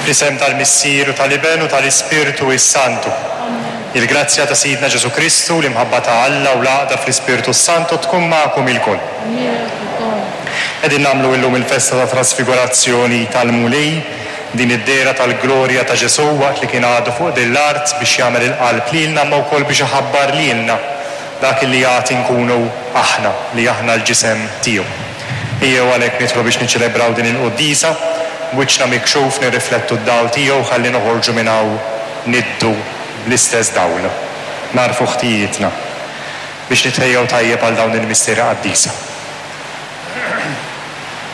Fl-isem tal-Missier u tal-Iben u tal-Ispirtu s-Santu. Il-grazzja ta' Sidna Ġesù Kristu, l-imħabba ta' Alla u l-għaqda fl-Ispirtu s-Santu tkun magħkom ilkoll. Qegħdin nagħmlu illum il-festa tat-Trasfigurazzjoni tal-Mulej, din id-dehra tal-glorja ta' Ġesù waqt li kien għadu fuq din l-art biex jagħmel il-qalb lilna imma wkoll biex iħabbar lilna dak li għad inkunu aħna, li aħna l-ġisem tiegħu. Ejjew għalhekk nidħlu biex niċċelebraw din il-quddiesa, b'wiċċna mikxuf nirriflettu d-dawl tiegħu ħalli noħorġu minn hawn niddu bl-istess dawl. Nagħrfu ħtijietna biex nitħejjew tajjeb għal dawn il-misteri qaddisa.